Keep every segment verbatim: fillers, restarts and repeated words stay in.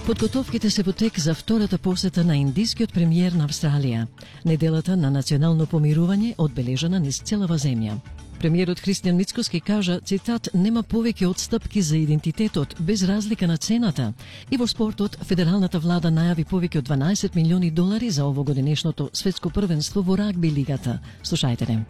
Подготовките се во тек за втората посета на индискиот премиер на Австралија. Неделата на национално помирување одбележана низ целава земја. Премиерот Христијан Мицкоски кажа, цитат, нема повеќе отстапки за идентитетот без разлика на цената. И во спортот, федералната влада најави повеќе од дванаесет милиони долари за овогодинешното светско првенство во рагби лигата. Слушајте не.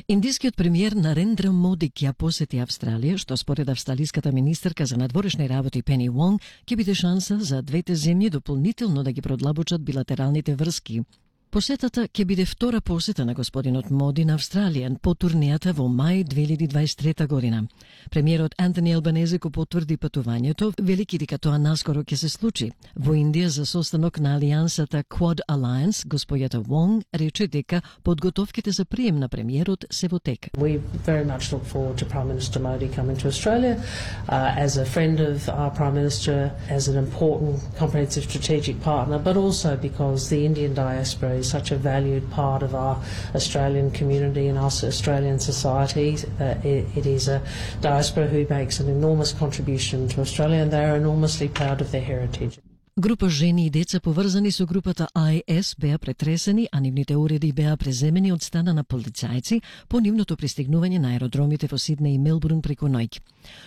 Индискиот премиер Нарендра Моди ќе посети Австралија, што според австралиската министерка за надворешни работи Пени Вонг ќе биде шанса за двете земји дополнително да ги продлабочат билатералните врски. Посетата ќе биде втора посета на господинот Моди на Австралија по турнејата во мај две илјади дваесет и трета година. Премиерот Антони Албанезе го потврди патувањето, велики дека тоа наскоро ќе се случи. Во Индија за состанок на алијансата Quad Alliance, господјата Вонг рече дека подготовките за прием на премиерот се во тек. We very much look forward to Prime Minister Modi coming to Australia uh, as a friend of our Prime Minister, as an important comprehensive strategic partner, but also because the Indian diaspora is such a valued part of our Australian community and our Australian society. Uh, it, it is a diaspora who makes an enormous contribution to Australia, and they are enormously proud of their heritage. Група жени и деца поврзани со групата I S беа претресени, а нивните уреди беа преземени од стана на полицајци по нивното пристигнување на аеродромите во Сиднеј и Мелбурн преку ноќ.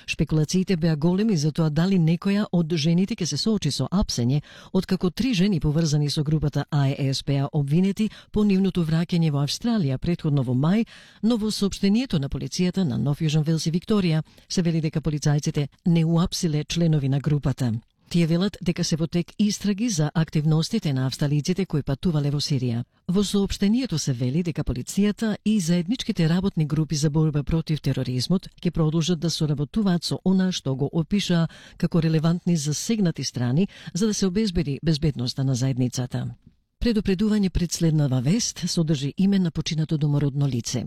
Шпекулациите беа големи за тоа дали некоја од жените ќе се соочи со апсење, откако три жени поврзани со групата I S беа обвинети по нивното враќање во Австралија претходно во мај, но во соопштението на полицијата на Нов Јужен Велс и Викторија се вели дека полицајците не уапсиле членови на групата. Тие велат дека се во тек истраги за активностите на австралиците кои патувале во Сирија. Во соопштението се вели дека полицијата и заедничките работни групи за борба против тероризмот ќе продолжат да соработуваат со она што го опиша како релевантни засегнати страни за да се обезбеди безбедноста на заедницата. Предупредување пред следнава вест содржи име на починато домородно лице.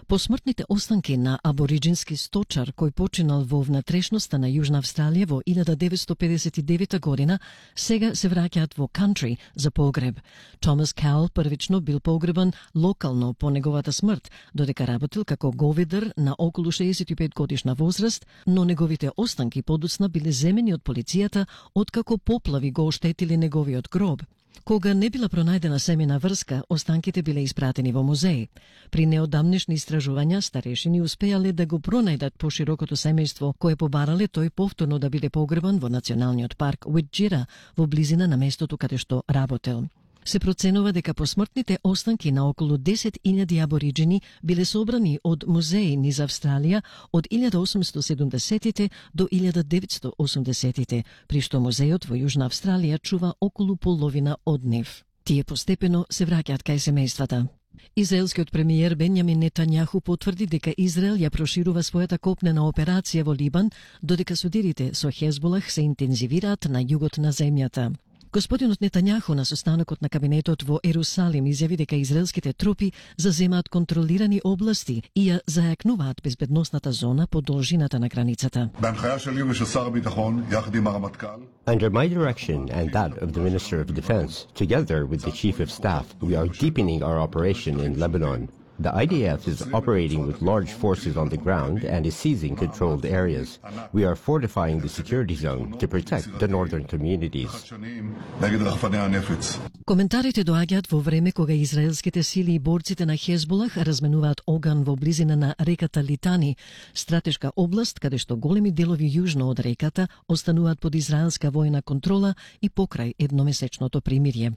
Посмртните останки на абориджински сточар кој починал во внатрешноста на Јужна Австралија во илјада деветстотини педесет и девета година сега се враќаат во кантри за погреб. Томас Каул првично бил погребан локално по неговата смрт, додека работил како говедар на околу шеесет и пет годишна возраст, но неговите останки подоцна биле земени од полицијата откако поплави го оштетили неговиот гроб. Кога не била пронајдена семена врска, останките биле испратени во музеј. При неодамнешни истражувања, старешини успеале да го пронајдат поширокото семејство, кое побарале тој повторно да биде погребан во националниот парк Уиджира, во близина на местото каде што работел. Се проценува дека посмртните останки на околу десет илјади абориджини биле собрани од музеи низ Австралија од илјада осумстотини седумдесетите до илјада деветстотини осумдесетите, при што музејот во Јужна Австралија чува околу половина од нив. Тие постепено се враќаат кај семејствата. Израелскиот премиер Бенјамин Нетањаху потврди дека Израел ја проширува својата копнена операција во Либан, додека судирите со Хезболах се интензивираат на југот на земјата. Господинот Нетањаху на состанокот на кабинетот во Ерусалим изјави дека израелските трупи заземаат контролирани области и ја зајакнуваат безбедносната зона по должината на границата. Under my direction and that of the Minister of Defense, together with the Chief of Staff, we are deepening our operation in Lebanon. The I D F is operating with large forces on the ground and is seizing controlled areas. We are fortifying the security zone to protect the northern communities. Коментарите доаѓаат во време кога израелските сили и борците на Хезболах разменуваат оган во близина на реката Литани, стратешка област каде што големи делови јужно од реката остануваат под израелска војна контрола и покрај едномесечното примирје.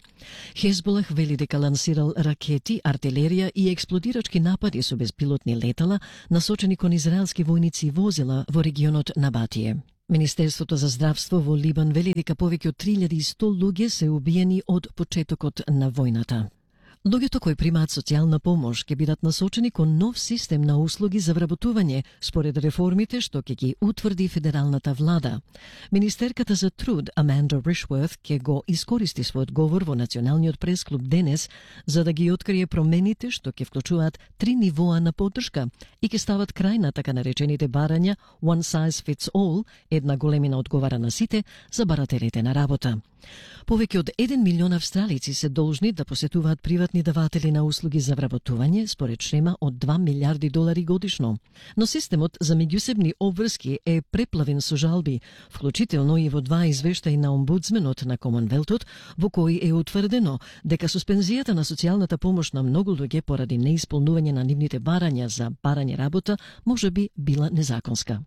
Хезболах вели дека лансирал ракети, артилерија и експлодирачки напади со безпилотни летала насочени кон израелски војници и возила во регионот Набатие. Министерството за здравство во Либан вели дека повеќе од три илјади и сто луѓе се убиени од почетокот на војната. Луѓето кои примаат социјална помош ќе бидат насочени кон нов систем на услуги за вработување според реформите што ќе ги утврди федералната влада. Министерката за труд Аманда Ришворт ќе го искористи својот говор во Националниот пресклуб денес за да ги открие промените што ќе вклучуваат три нивоа на поддршка и ќе стават крај на така наречените барања one size fits all, една големина одговара на сите, за барателите на работа. Повеќе од еден милион австралици се должни да посетуваат приватни даватели на услуги за вработување според шема од два милиарди долари годишно. Но системот за меѓусебни обврски е преплавен со жалби, вклучително и во два извештаи на омбудсменот на Комонвелтот, во кои е утврдено дека суспензијата на социјалната помош на многу луѓе поради неисполнување на нивните барања за барање работа можеби била незаконска.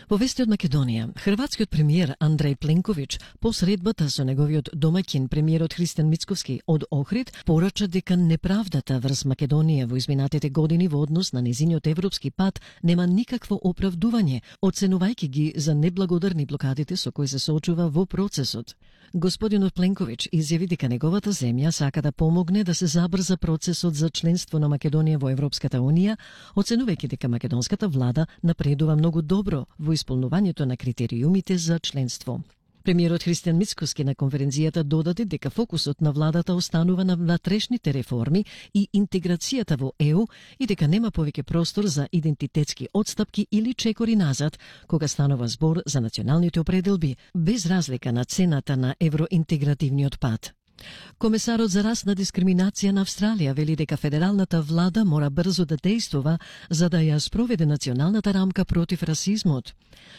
Во вести од Македонија, хрватскиот премиер Андреј Пленковиќ по средбата со неговиот домаќин премиерот Христијан Мицковски од Охрид порача дека неправдата врз Македонија во изминатите години во однос на незиниот европски пат нема никакво оправдување, оценувајќи ги за неблагодарни блокадите со кои се соочува во процесот. Господинот Пленковиќ изјави дека неговата земја сака да помогне да се забрза процесот за членство на Македонија во Европската унија, оценувајќи дека македонската влада напредува многу добро во исполнувањето на критериумите за членство. Премиерот Христијан Мицковски на конференцијата додаде дека фокусот на владата останува на внатрешните реформи и интеграцијата во Е У и дека нема повеќе простор за идентитетски отстапки или чекори назад кога станува збор за националните определби, без разлика на цената на евроинтегративниот пат. Комесарот за расна дискриминација на Австралија вели дека федералната влада мора брзо да дејствува за да ја спроведе националната рамка против расизмот.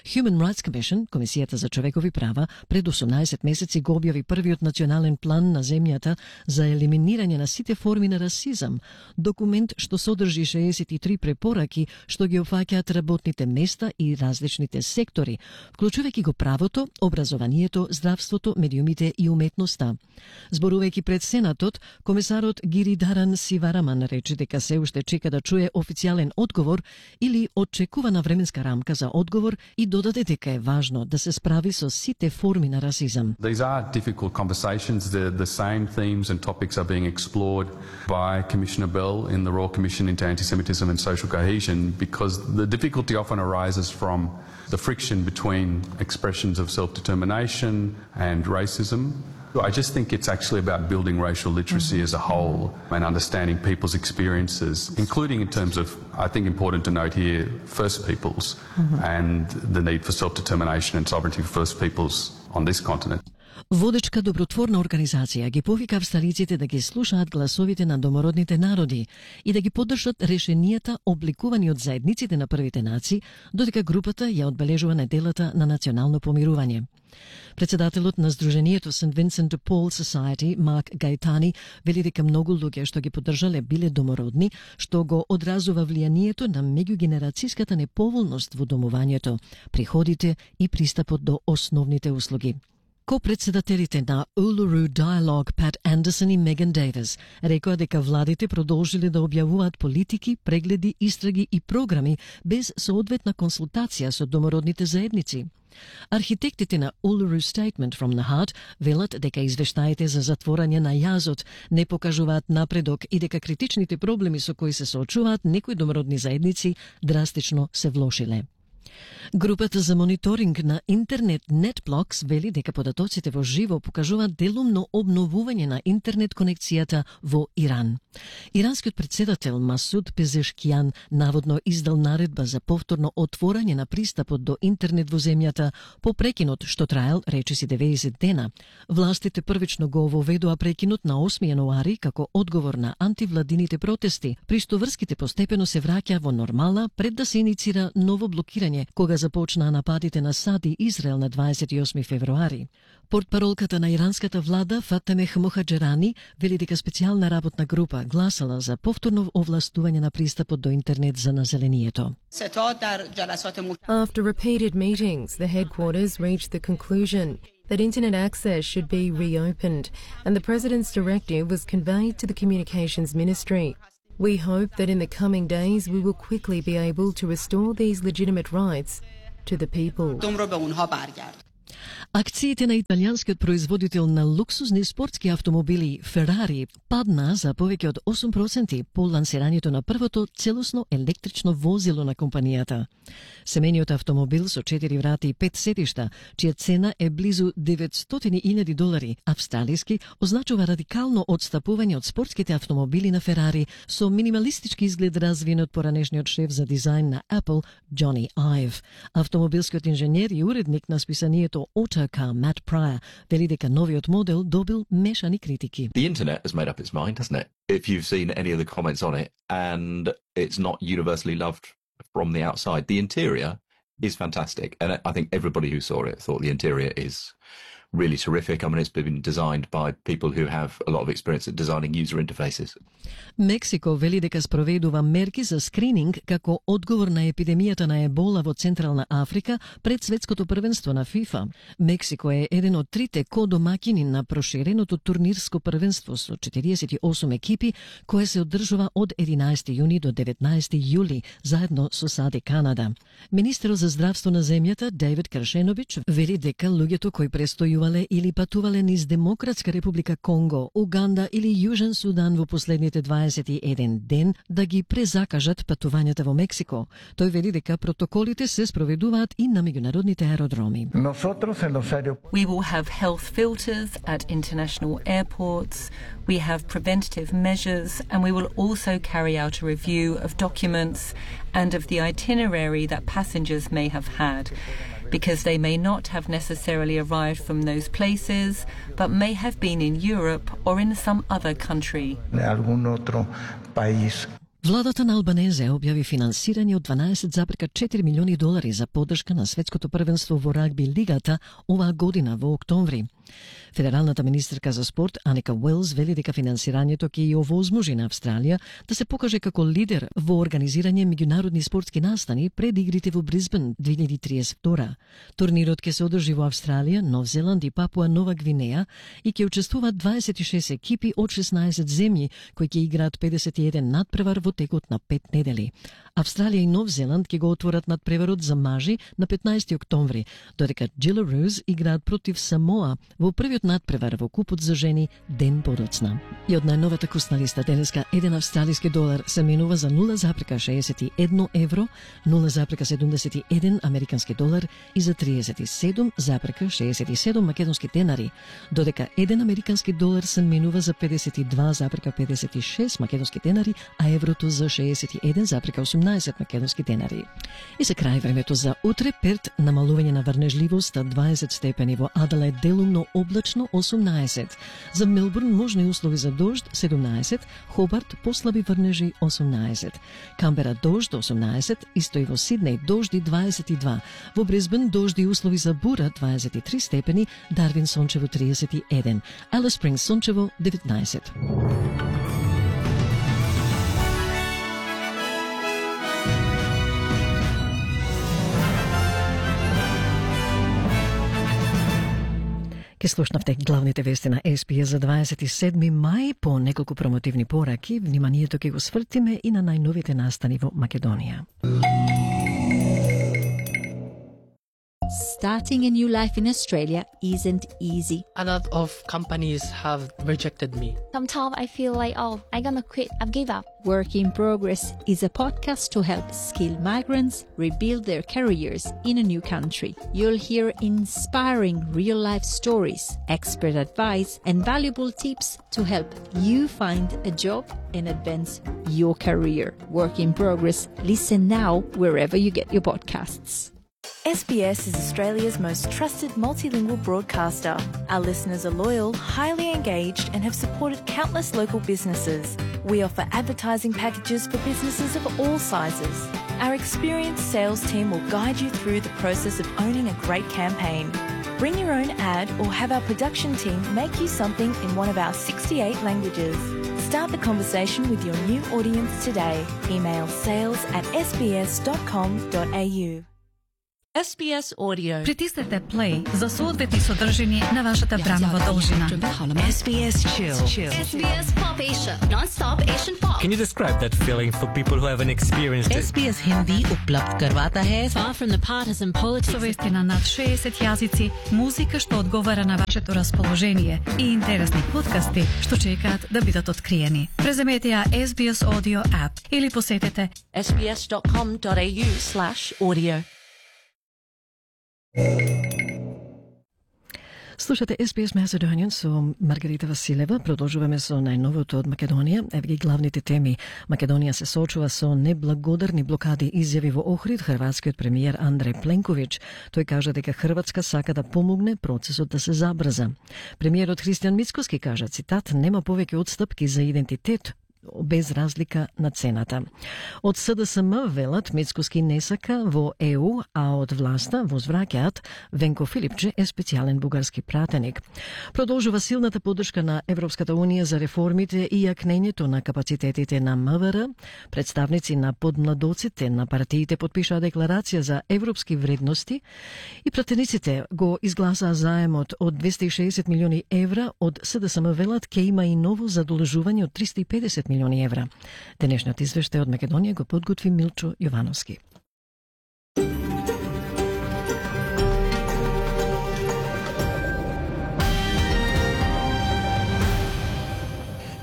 Human Rights Commission, Комисијата за човекови права, пред осумнаесет месеци го објави првиот национален план на земјата за елиминирање на сите форми на расизам, документ што содржи шеесет и три препораки што ги опфаќаат работните места и различните сектори, вклучувајќи го правото, образованието, здравството, медиумите и уметноста. Зборувајќи пред Сенатот, комесарот Гиридаран Сивараман рече дека се уште чека да чуе официјален одговор или очекувана временска рамка за одговор и додаде дека е важно да се справи со сите форми на расизам. These are difficult conversations. The, the same themes and topics are being explored by Commissioner Bell in the Royal Commission into Anti-Semitism and Social Cohesion because the difficulty often arises from the friction between expressions of self-determination and racism. I just think it's actually about building racial literacy mm-hmm. as a whole and understanding people's experiences, including in terms of, I think important to note here, First Peoples mm-hmm. and the need for self-determination and sovereignty for First Peoples on this continent. Водечка добротворна организација ги повика австралиците да ги слушаат гласовите на домородните народи и да ги поддржат решенијата обликувани од заедниците на првите нации, додека групата ја одбележува неделата на национално помирување. Председателот на Сдруженијето Сент Винсент де Пол Society, Марк Гајтани, вели дека многу луѓе што ги поддржале биле домородни, што го одразува влијанието на меѓугенерацијската неповолност во домувањето, приходите и пристапот до основните услуги. Ко-председателите на Uluru Dialogue Пат Андерсон и Меган Дейвис рекоа дека владите продолжиле да објавуваат политики, прегледи, истраги и програми без соодветна консултација со домородните заедници. Архитектите на Uluru Statement from the Heart велат дека извештаите за затворање на јазот не покажуваат напредок и дека критичните проблеми со кои се соочуваат некои домородни заедници драстично се влошиле. Групата за мониторинг на интернет NetBlocks вели дека податоците во живо покажуваат делумно обновување на интернет конекцијата во Иран. Иранскиот председател Масуд Пезешкијан наводно издал наредба за повторно отворање на пристапот до интернет во земјата по прекинот што траел речиси деветдесет дена. Властите првично го воведоа прекинот на осми јануари како одговор на антивладините протести, при што врските постепено се враќа во нормала пред да се иницира ново блокирање кога започнаа нападите на САД и Израел на дваесет и осми февруари. Портпаролката на иранската влада Фатеме Мохаџерани вели дека специјална работна група гласала за повторно овластување на пристапот до интернет за населението. After repeated meetings, the headquarters reached the conclusion that internet access should be reopened and the President's directive was conveyed to the Communications Ministry. We hope that in the coming days we will quickly be able to restore these legitimate rights to the people. Акциите на италијанскиот производител на луксузни спортски автомобили Ферари падна за повеќе од осум проценти по лансирањето на првото целосно електрично возило на компанијата. Семејниот автомобил со четири врати и пет седишта, чија цена е близу деветстотини илјади долари австралиски, означува радикално одстапување од спортските автомобили на Ферари со минималистички изглед развиен од поранешниот шеф за дизајн на Apple, Джони Айв. Автомобилскиот инженер и уредник на списанието Autocar а Matt Pryor вели дека новиот модел добил мешани критики. The internet has made up its mind, hasn't it? If you've seen any of the comments on it, and it's not universally loved from the outside. The interior is fantastic, and I think everybody who saw it thought the interior is really terrific. I mean, it's been designed by people who have a lot of experience at designing user interfaces. Мексико вели дека спроведува мерки за скрининг како одговор на епидемијата на ебола во Централна Африка пред светското првенство на FIFA. Мексико е еден од трите ко-домаќини на проширеното турнирско првенство со четириесет и осум екипи, кое се одржува од единаесети јуни до деветнаесети јули, заедно со САД и Канада. Министерот за здравство на земјата, Дейвид Крашенович, вели дека луѓето кои престојувале или патувале низ Демократска република Конго, Уганда или Јужен Судан во последните дваесет и еден ден да ги презакажат патувањата во Мексико. Тој вели дека протоколите се спроведуваат и на меѓународните аеродроми. We will have health filters at international airports. We have preventative measures, and we will also carry out a review of documents and of the itinerary that passengers may have had, because they may not have necessarily arrived from those places, but may have been in Europe or in some other country. Владата на Албанезе објави финансирање од дванаесет зарез и четири милиони долари за поддршка на светското првенство во рагби лигата оваа година во октомври. Федералната министерка за спорт Аника Уелс вели дека финансирањето ќе ја овозможи на Австралија да се покаже како лидер во организирање меѓународни спортски настани пред игрите во Брисбен две илјади триесет и втора. Турнирот ќе се одржи во Австралија, Нов Зеланд и Папуа Нова Гвинеја и ќе учествуваат дваесет и шест екипи од шеснаесет земји кои ќе играат педесет и еден надпревар во текот на пет недели. Австралија и Нов Зеланд ќе го отворат надпреварот за мажи на петнаесети октомври, додека Джилароос играат против Самоа во првиот надпревар во купот за жени ден подоцна. И од најновата курсна листа денеска еден австралиски долар се менува за нула зарез шеесет и едно евро, нула зарез седумдесет и еден американски долар и за триесет и седум зарез шеесет и седум македонски денари, додека еден американски долар се менува за педесет и два зарез педесет и шест македонски денари, а еврото за шеесет и еден зарез осумнаесет македонски денари. И за крај времето за утре: Перт намалување на врнежливост дваесет степени, во Аделаид делумно облачно осумнаесет, за Мелбурн можни услови за дожд седумнаесет, Хобарт послаби врнежи осумнаесет, Камбера дожд осумнаесет, исто и во Сиднеј дожди дваесет и два, во Брисбен дожди услови за бура дваесет и три степени, Дарвин сончево триесет и еден, Алис Спрингс сончево деветнаесет. Ке слушнавте главните вести на Ес Би Ес за дваесет и седми мај. По неколку промотивни пораки, вниманието ке го свртиме и на најновите настани во Македонија. Starting a new life in Australia isn't easy. A lot of companies have rejected me. Sometimes I feel like, oh, I'm gonna quit, I've give up. Work in Progress is a podcast to help skilled migrants rebuild their careers in a new country. You'll hear inspiring real-life stories, expert advice, and valuable tips to help you find a job and advance your career. Work in Progress. Listen now wherever you get your podcasts. S B S is Australia's most trusted multilingual broadcaster. Our listeners are loyal, highly engaged, and have supported countless local businesses. We offer advertising packages for businesses of all sizes. Our experienced sales team will guide you through the process of owning a great campaign. Bring your own ad or have our production team make you something in one of our sixty-eight languages. Start the conversation with your new audience today. Email sales at s b s dot com dot a u. Ес Би Ес Audio. Притиснете play за соодветни содржини на вашата времева должина. S B S Chill. S B S Pop Asia. Non-stop Asian pop. Can you describe that feeling for people who haven't experienced it? S B S Hindi उपलब्ध करवाता है. Far from the partisan politics. Со вести на над шеесет јазици, музика што одговара на вашето расположение и интересни подкасти што чекаат да бидат откриени. Преземете ја S B S Audio app или посетете s b s dot com dot a u slash audio. Слушате Ес Би Ес Macedonian со Маргарита Василева. Продолжуваме со најновото од Македонија. Еве ги главните теми. Македонија се соочува со неблагодарни блокади, изјави во Охрид хрватскиот премиер Андреј Пленковиќ. Тој кажа дека Хрватска сака да помогне процесот да се забрза. Премиерот Христијан Мицкоски кажа, цитат, нема повеќе отстапки за идентитет без разлика на цената. Од С Д С М велат Мицкоски не сака во Е У, а од власта возвраќаат Венко Филипче е специјален бугарски пратеник. Продолжува силната поддршка на Европската Унија за реформите и јакнењето на капацитетите на М В Р. Представници на подмладоците на партиите потпишаа декларација за европски вредности и пратениците го изгласаа заемот од двесте и шеесет милиони евра. Од С Д С М велат ке има и ново задолжување од триста и педесет милиони евра. Денешниот извештај од Македонија го подготви Милчо Јовановски.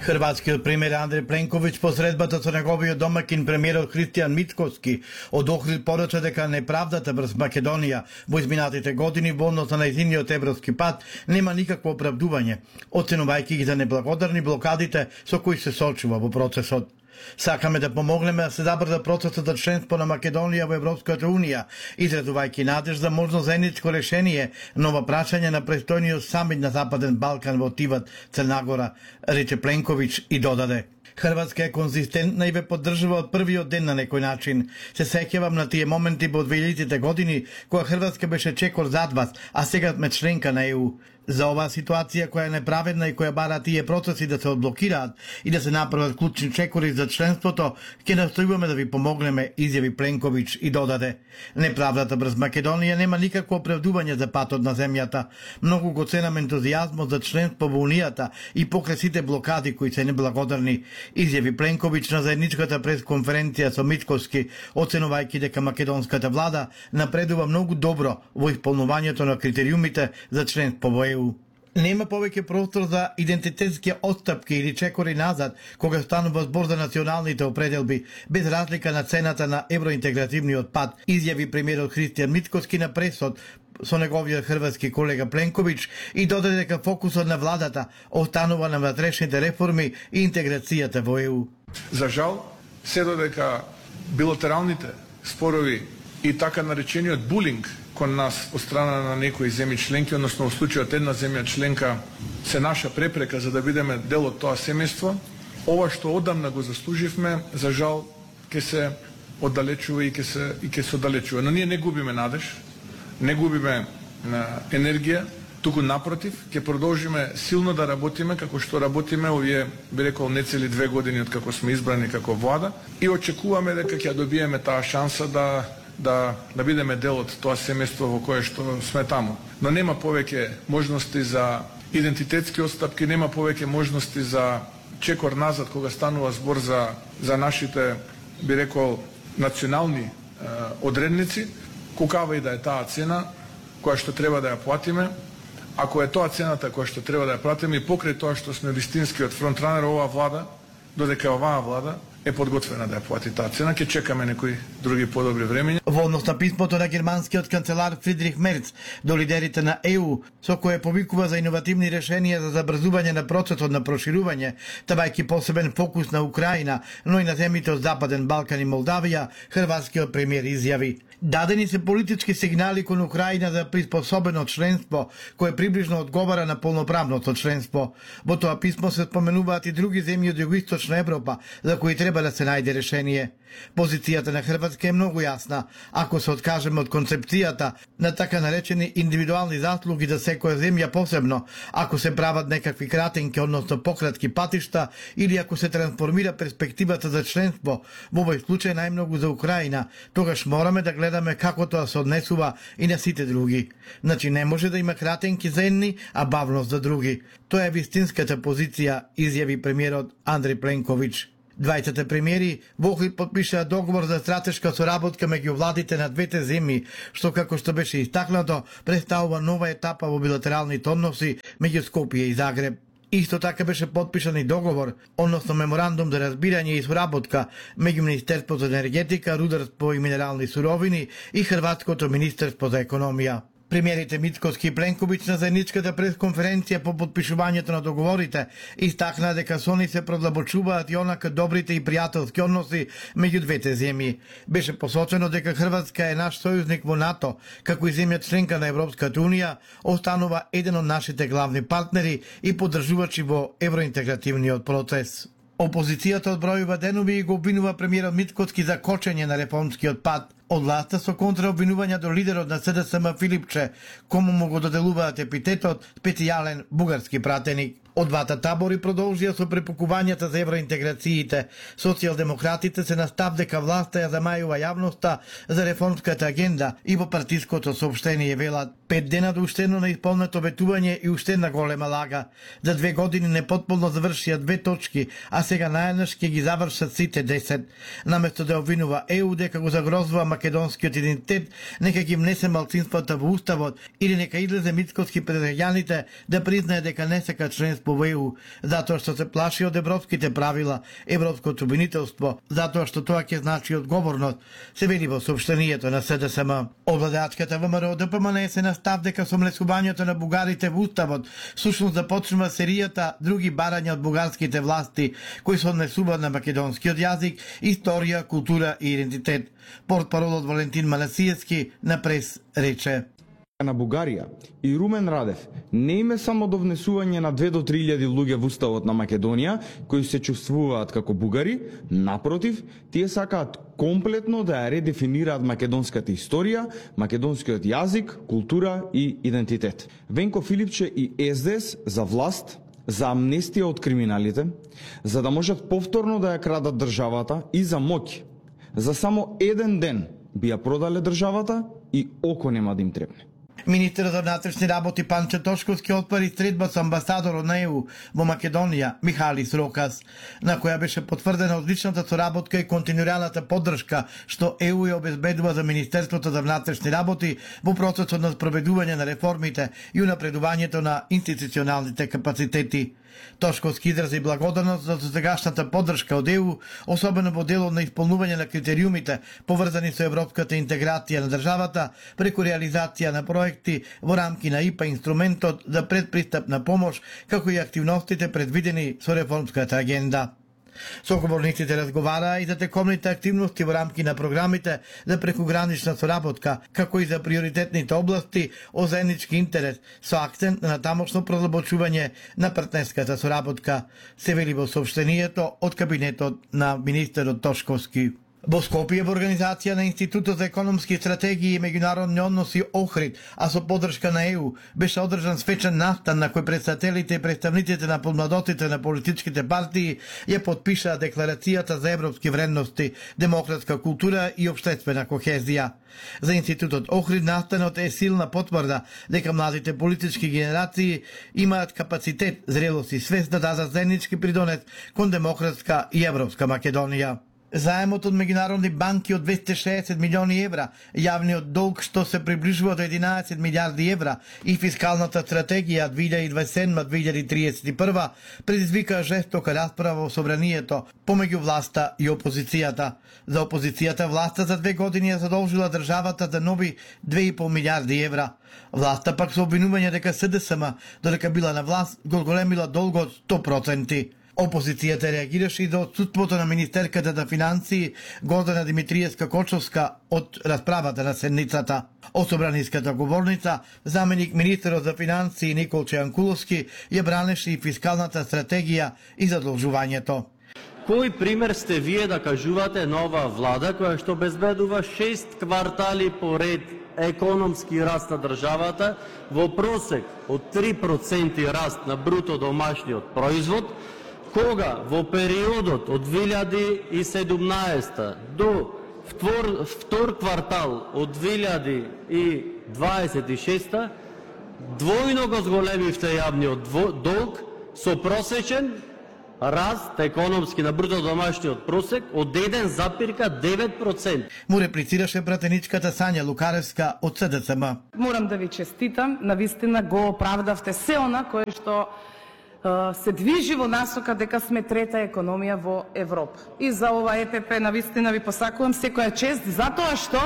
Хрватскиот премиер Андреј Пленковиќ по средбата со неговиот домакин премиерот Христијан Мицкоски од Охрид порача дека неправдата врз Македонија во изминатите години во однос на нејзиниот европски пат нема никакво оправдување, оценувајќи ги за неблагодарни блокадите со кои се соочува во процесот. Сакаме да помогнеме да се забрза процесот за членство на Македонија во Европската Унија, изразувајќи надеж за можно заедничко решение на ова прашање на престојниот самит на Западен Балкан во Тиват, Црна Гора, рече Пленковиќ и додаде. Хрватска е конзистентна и ве поддржува од првиот ден на некој начин. Се сеќавам на тие моменти во дваесетте години, кога Хрватска беше чекор зад вас, а сега сме членка на Е У. За оваа ситуација која е неправедна и која бара тие процеси да се одблокираат и да се направат клучни чекори за членството, ќе настојуваме да ви помогнеме, изјави Пленковиќ и додаде. Неправдата врз Македонија нема никакво оправдување за патот на земјата. Многу го ценам ентузијазмот за членство во Унијата и покрај сите блокади кои се неблагодарни, изјави Пленковиќ на заедничката пресконференција со Мицкоски, оценувајќи дека македонската влада напредува многу добро во исполнувањето на критериумите за членство во Е У. Нема повеќе простор за идентитетски отстапки или чекори назад кога станува збор за националните определби, без разлика на цената на евроинтегративниот пат, изјави премиерот Христијан Мицкоски на пресот со неговиот хрватски колега Пленковиќ и додаде дека фокусот на владата останува на внатрешните реформи и интеграцијата во Е У. За жал, се додека билатералните спорови и така наречениот булинг кон нас од страна на некои земји членки, односно во случајот една земја членка се наша препрека за да бидеме дел од тоа семејство, ова што одамна го заслуживме, за жал ќе се оддалечува и ќе се и ќе се оддалечува. Но ние не губиме надеж, не губиме енергија, туку напротив, ќе продолжиме силно да работиме како што работиме овие, би рекол, нецели две години од како сме избрани како влада и очекуваме дека ќе добиеме таа шанса да да да бидеме дел од тоа семејство во кое што сме таму. Но нема повеќе можности за идентитетски отстапки, нема повеќе можности за чекор назад кога станува збор за за нашите, би рекол, национални е, одредници, кокава и да е таа цена која што треба да ја платиме. Ако е тоа цената која што треба да ја платиме и покрај тоа што сме вистинскиот фронтранер оваа влада, додека оваа влада е подготвена да ја плати таа цена, ќе чекаме некои други подобри времења. Во однос на писмото на германскиот канцелар Фридрих Мерц до лидерите на Е У, со кое повикува за иновативни решенија за забрзување на процесот на проширување, ставајќи посебен фокус на Украина, но и на земјите од Западен Балкан и Молдавија, хрватскиот премиер изјави: дадени се политички сигнали кон Украина за приспособено членство, кое приближно одговара на полноправното членство. Во тоа писмо се споменуваат и други земји од Југоисточна Европа, за кои треба да се најде решение. Позицијата на Хрватска е многу јасна. Ако се откажеме од концепцијата на така наречени индивидуални заслуги за секоја земја посебно, ако се прават некакви кратенки, односно пократки патишта, или ако се трансформира перспективата за членство, во овој случај најмногу за Украина, тогаш мораме да гледаме како тоа се однесува и на сите други. Значи не може да има кратенки за едни, а бавност за други. Тоа е вистинската позиција, изјави премиерот Андреј Пленковиќ. Двајцата премиери во Охрид потпишаа договор за стратешка соработка меѓу владите на двете земји, што како што беше истакнато, представува нова етапа во билатералните односи меѓу Скопје и Загреб. Исто така беше потпишан и договор, односно меморандум за разбирање и соработка меѓу Министерството за енергетика, рударство и минерални суровини и Хрватското министерство за економија. Премиерите Мицкоски и Пленковиќ на заедничката пресконференција по подпишувањето на договорите истакнаа дека со они се продлабочуваат и онака добрите и пријателски односи меѓу двете земји. Беше посочено дека Хрватска е наш сојузник во НАТО, како и земја членка на Европската унија, останува еден од нашите главни партнери и поддржувачи во евроинтегративниот процес. Опозицијата одбројува денови и го обвинува премиерот Мицкоски за кочење на реформскиот пат од власта со контраобвинувања до лидерот на С Д С М Филипче, кому му го доделуваат епитетот специјален бугарски пратеник. Од двата табори продолжија со препукувањата за евроинтеграциите. Социјалдемократите се на став дека власта ја замајува јавноста за реформската агенда и во партиското соопштение велат пет дена до уштено на исполнето ветување и уште една голема лага. За две години непотполно завршија две точки, а сега најнаш ќе ги завршат сите десет. Наместо да обвинува Е У дека го загрозува македонскиот идентитет, нека ги внесе малцинствата во уставот или нека излезе Мицкоски пред граѓаните да признае дека не сака членство во Е У, затоа што се плаши од европските правила, европското обвинителство, затоа што тоа ќе значи одговорност, се вели во соопштението на С Д С М. Обладачката Вэ М Р Д П М Н се на став дека со млесувањето на бугарите во уставот сушност започнува серијата други барања од бугарските власти кои се однесуваат на македонскиот јазик, историја, култура и идентитет. Портпаролот Валентин Манасиевски на прес рече: на Бугарија и Румен Радев не име само до внесување на две до три илјади луѓе во уставот на Македонија кои се чувствуваат како бугари, напротив, тие сакаат комплетно да ја редефинираат македонската историја, македонскиот јазик, култура и идентитет. Венко Филипче и С Д С за власт, за амнестија од криминалите, за да можат повторно да ја крадат државата и за моќ. За само еден ден би ја продале државата и око нема да им требне. Министерот за внатрешни работи Панчо Тошковски отвори средба со амбасадорот на Е У во Македонија Михалис Рокас, на која беше потврдена одличната соработка и континуираната поддршка што Е У ја обезбедува за Министерството за внатрешни работи во процесот на спроведување на реформите и унапредувањето на институционалните капацитети. Тошковски изрази благодарност за досегашната поддршка од Е У, особено во делот на исполнување на критериумите поврзани со европската интеграција на државата преку реализација на проекти во рамки на И П А инструментот за предпристапна помош, како и активностите предвидени со реформската агенда. Соговорниците разговараа и за текомните активности во рамки на програмите за прекугранична соработка, како и за приоритетните области од заеднички интерес, со акцент на тамошно продлабочување на партнерската соработка, се вели во соопштението од кабинетот на министерот Тошковски. Во Скопје во организација на Институтот за економски стратегии и меѓународни односи Охрид, а со поддршка на Е У, беше одржан свечен настан на кој претставителите и представниците на помладоците на политичките партии ја потпишаа декларацијата за европски вредности, демократска култура и општествена кохезија. За Институтот Охрид настанот е силна потврда дека младите политички генерации имаат капацитет, зрелост и свест да дадат заеднички придонес кон демократска и европска Македонија. Заемот од меѓународни банки од двесте и шеесет милиони евра, јавниот долг што се приближува до единаесет милијарди евра и фискалната стратегија две илјади дваесет и седма до две илјади триесет и прва предизвика жестока расправа во собранието помеѓу власта и опозицијата. За опозицијата власта за две години ја задолжила државата за нови две и пол милијарди евра. Власта пак со обвинување дека С Д С М, додека била на власт, го големила долгот сто проценти. Опозицијата реагираше и за отсутството на министерката за финансии Гордана Димитриевска-Кочовска од расправата на седницата. Од собраниската говорница, заменик министерот за финансии Николче Јанкуловски ја бранеше и фискалната стратегија и задолжувањето. Кој пример сте вие да кажувате на оваа влада која што безбедува шест квартали поред економски раст на државата во просек од три проценти раст на бруто домашниот производ, кога во периодот од две илјади и седумнаесета до втор, втор квартал од две илјади и дваесет и шеста двојно го зголемивте јавниот долг со просечен раст економски на бруто домашниот просек од еден запирка девет проценти. Му реплицираше пратеничката Сања Лукаревска од С Д С М. Морам да ви честитам, навистина го оправдавте се она кое што се движи во насока дека сме трета економија во Европа. И за ова Е П П навистина ви посакувам секоја чест, затоа што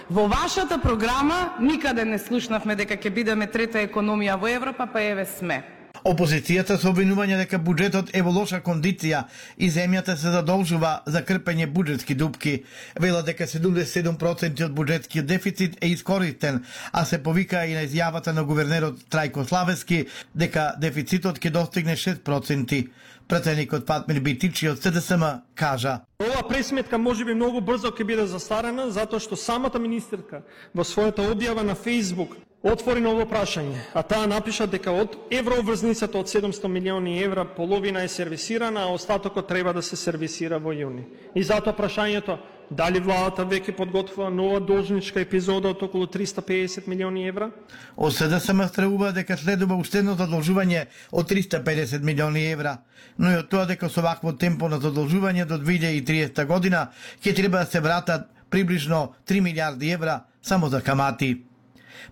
Во вашата програма никаде не слушнавме дека ќе бидеме трета економија во Европа, па еве сме. Опозицијата со обвинување дека буџетот е во лоша кондиција и земјата се задолжува за крпење буџетски дупки. Вела дека седумдесет и седум проценти од буџетскиот дефицит е искористен, а се повика и на изјавата на гувернерот Трајко Славески дека дефицитот ќе достигне шест проценти. Пратеникот Фатмир Битичи од С Д С М кажа: Ова пресметка можеби многу брзо ќе биде застарена, затоа што самата министерка во својата објава на Фејсбук отвори ново прашање, а таа напиша дека од еврообврзницата од седумстотини милиони евра половина е сервисирана, а остатокот треба да се сервисира во јуни. И затоа прашањето, дали владата веќе подготвува нова должничка епизода од околу триста пеесет милиони евра? Од С Д С М стравува дека следува уште едно задолжување од триста педесет милиони евра, но и од тоа дека со вакво темпо на задолжување до две илјади и триесета година ќе треба да се вратат приближно три милиарди евра само за камати.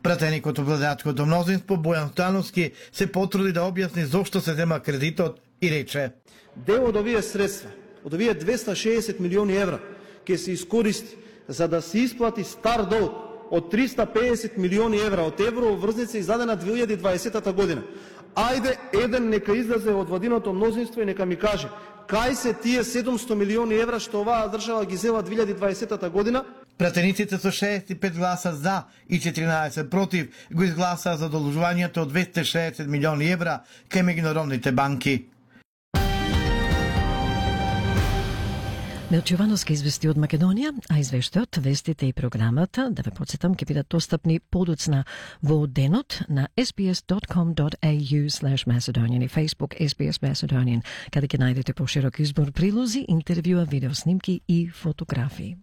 Пратеникот од владеачкото мнозинство Бојан Становски се потруди да објасни зошто се зема кредитот и рече: Дел од овие средства, од овие двеста и шеесет милиони евра, ќе се искористи за да се исплати стар долг од триста пеесет милиони евра од еврообврзница издадена две илјади и дваесета година. Ајде, еден нека излезе од владиното мнозинство и нека ми каже, кај се тие седумстотини милиони евра што оваа држава ги зела две илјади и дваесета година? Пратениците со шеесет и пет гласа за и четиринаесет против го изгласаа задолжувањето од двеста и шеесет милиони евра кај меѓународните банки. Милчо Ивановски извести од Македонија, а извештајот, вестите и програмата, да ве подсетам, ќе бидат достапни подоцна во денот на ес би ес dot com dot a u slash Macedonian и Facebook ес би ес Macedonian, каде ќе најдете поширок избор прилози, интервјуа, видеоснимки и фотографии.